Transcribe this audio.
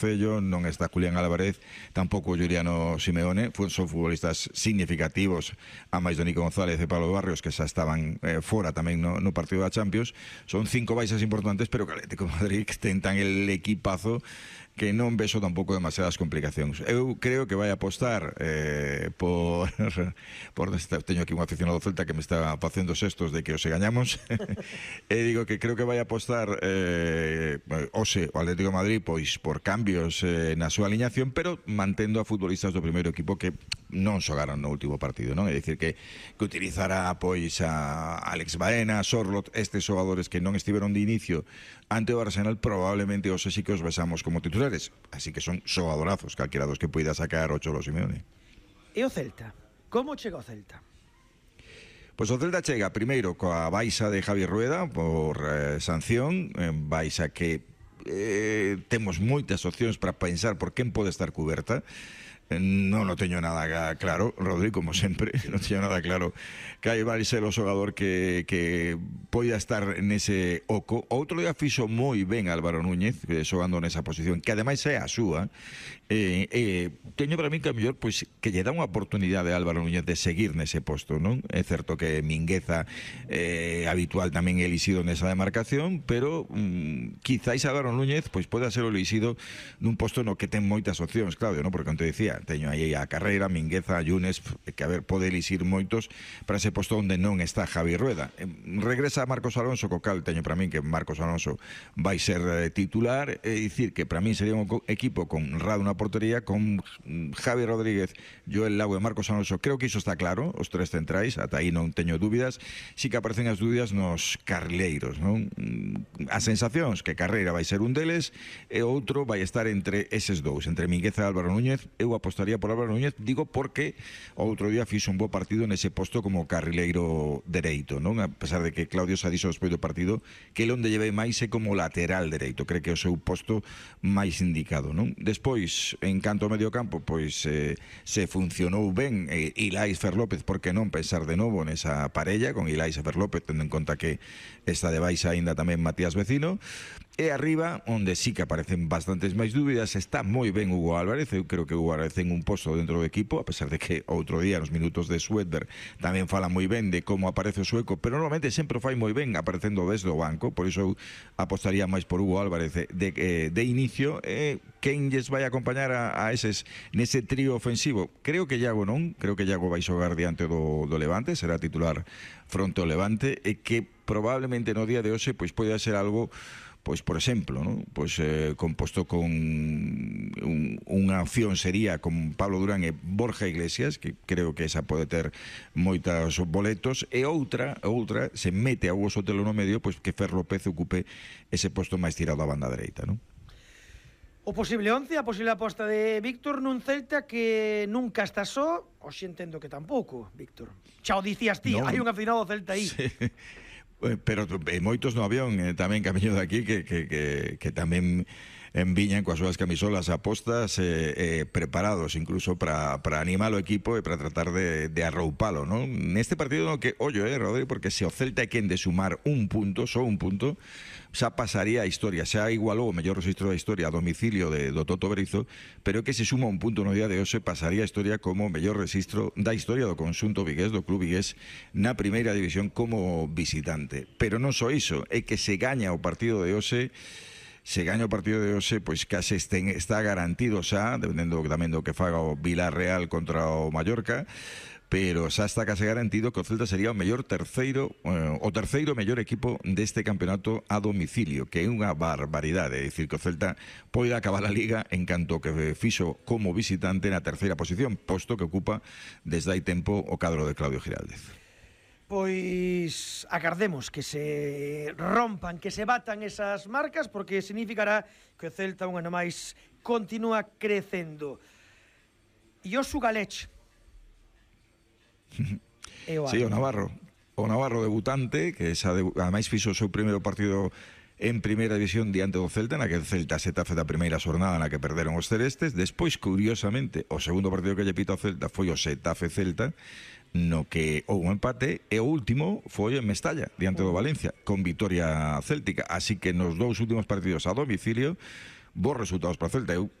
Cello, non está Julián Álvarez, tampouco Juliano Simeone, son futbolistas significativos, a máis do Nico González e Pablo Barrios, que xa estaban fora tamén no partido da Champions. Son 5 baixas importantes, pero que Atlético de Madrid ten tan el equipazo que non vexo tampouco demasiadas complicacións. Eu creo que vai apostar teño aquí un aficionado do Celta que me está facendo xestos de que os gañamos e digo que creo que vai apostar hoxe o Atlético de Madrid pois por cambios na súa aliñación, pero mantendo a futbolistas do primeiro equipo que non xogaron no último partido, non? É dicir que utilizará pois a Alex Baena, Sorlot, estes xogadores que non estiveron de inicio ante o Arsenal, probablemente hoxe sí que os besamos como titulares, así que son xogadorazos calquera dos que poida sacar o Cholo Simeone. E o Celta? Como chega o Celta? Pois o Celta chega primeiro coa baixa de Javi Rueda por sanción, baixa que temos moitas opcións para pensar por quen pode estar cuberta. Non o teño nada claro, Rodri, como sempre, non teño nada claro que aí vai ser o xogador que poida estar nese oco. Outro día fixo moi ben Álvaro Núñez xogando nesa posición, que ademais é a súa. Teño para mí que a mellor pois, que lle dá unha oportunidade a Álvaro Núñez de seguir nese posto, non? É certo que Mingueza habitual tamén é elixido nesa demarcación, pero quizáis Álvaro Núñez pois pode ser o elixido nun posto no que ten moitas opcións, Claudio, non? Porque, como te decía, teño aí a Carreira, Mingueza, Yunes, que a ver, pode elixir moitos para ese posto onde non está Javi Rueda. Regresa Marcos Alonso, co cal teño para min que Marcos Alonso vai ser titular, é dicir que para min sería un equipo con Rado na portería, con Javi Rodríguez, Joel Lago e Marcos Alonso. Creo que iso está claro, os tres centrais, ata aí non teño dúbidas. Si que aparecen as dúbidas nos carrileiros, non? As sensacións que Carreira vai ser un deles e outro vai estar entre eses dous, entre Mingueza e Álvaro Núñez. Eu apostaría por Álvaro Núñez, digo porque o outro día fixo un bo partido nese posto como carrileiro dereito, non? A pesar de que Claudio xa dixo despois do partido que ele onde lleve máis é como lateral dereito, cree que é o seu posto máis indicado, non? Despois, en canto ao medio campo, pois se funcionou ben Ilais Fer López, por que non pensar de novo nesa parella con Ilais e Fer López, tendo en conta que está de baixa aínda tamén Matías Vecino. E arriba, onde sí que aparecen bastantes máis dúbidas, está moi ben Hugo Álvarez. Eu creo que Hugo Álvarez ten un posto dentro do equipo, a pesar de que outro día nos minutos de Swedberg tamén fala moi ben de como aparece o sueco, pero normalmente sempre fai moi ben aparecendo desde o banco. Por iso eu apostaría máis por Hugo Álvarez de inicio. Quen lles vai acompañar a eses nese trío ofensivo? Creo que Iago non, creo que Iago vai xogar diante do Levante, será titular fronte ao Levante, e que probablemente no día de hoxe pois pode ser algo, pois por exemplo, ¿no? Pois composto con unha opción sería con Pablo Durán e Borja Iglesias, que creo que esa pode ter moitos boletos, e outra se mete a Hugo Sotelo no medio, pois que Fer López ocupe ese posto máis tirado á banda dereita, non? O posible 11, a posible aposta de Víctor nun Celta que nunca está só, hoxe entendo que tampouco, Víctor. Xa o dicías ti, hai un afinado Celta aí. Sí. Pero moitos no avión tamén camiño de aquí que tamén enviñan coas súas camisolas apostas preparados incluso para animar o equipo e para tratar de arroupalo, non? Neste partido no que, ollo, Rodri, porque se o Celta é quen de sumar un punto, só un punto, xa pasaría a historia, xa igualou o mellor registro da historia a domicilio do Toto Berizo, pero que se suma un punto no día de hoxe pasaría a historia como o mellor registro da historia do conxunto vigués, do club vigués na primeira división como visitante. Pero non só iso, é que se gaña o partido de hoxe, pois case está garantido xa, dependendo tamén do que faga o Villarreal contra o Mallorca, pero xa está case garantido que o Celta sería o terceiro mellor equipo deste campeonato a domicilio, que é unha barbaridade. É dicir, que o Celta pode acabar a Liga en canto que fixo como visitante na terceira posición, posto que ocupa desde hai tempo o cadro de Claudio Giraldez. Pois agardemos que se rompan, que se batan esas marcas, porque significará que o Celta un ano máis continúa crecendo. E o Sugalech. Sí, o Navarro debutante, que ademais fixo o seu primeiro partido en primeira división diante do Celta, na que o Celta Xetafe da primeira xornada na que perderon os celestes. Despois, curiosamente, o segundo partido que lle pita o Celta foi o Xetafe Celta, no que houve un empate, e o último foi en Mestalla, diante do Valencia, con vitoria céltica. Así que nos dous últimos partidos a domicilio bons resultados para o Celta. Eu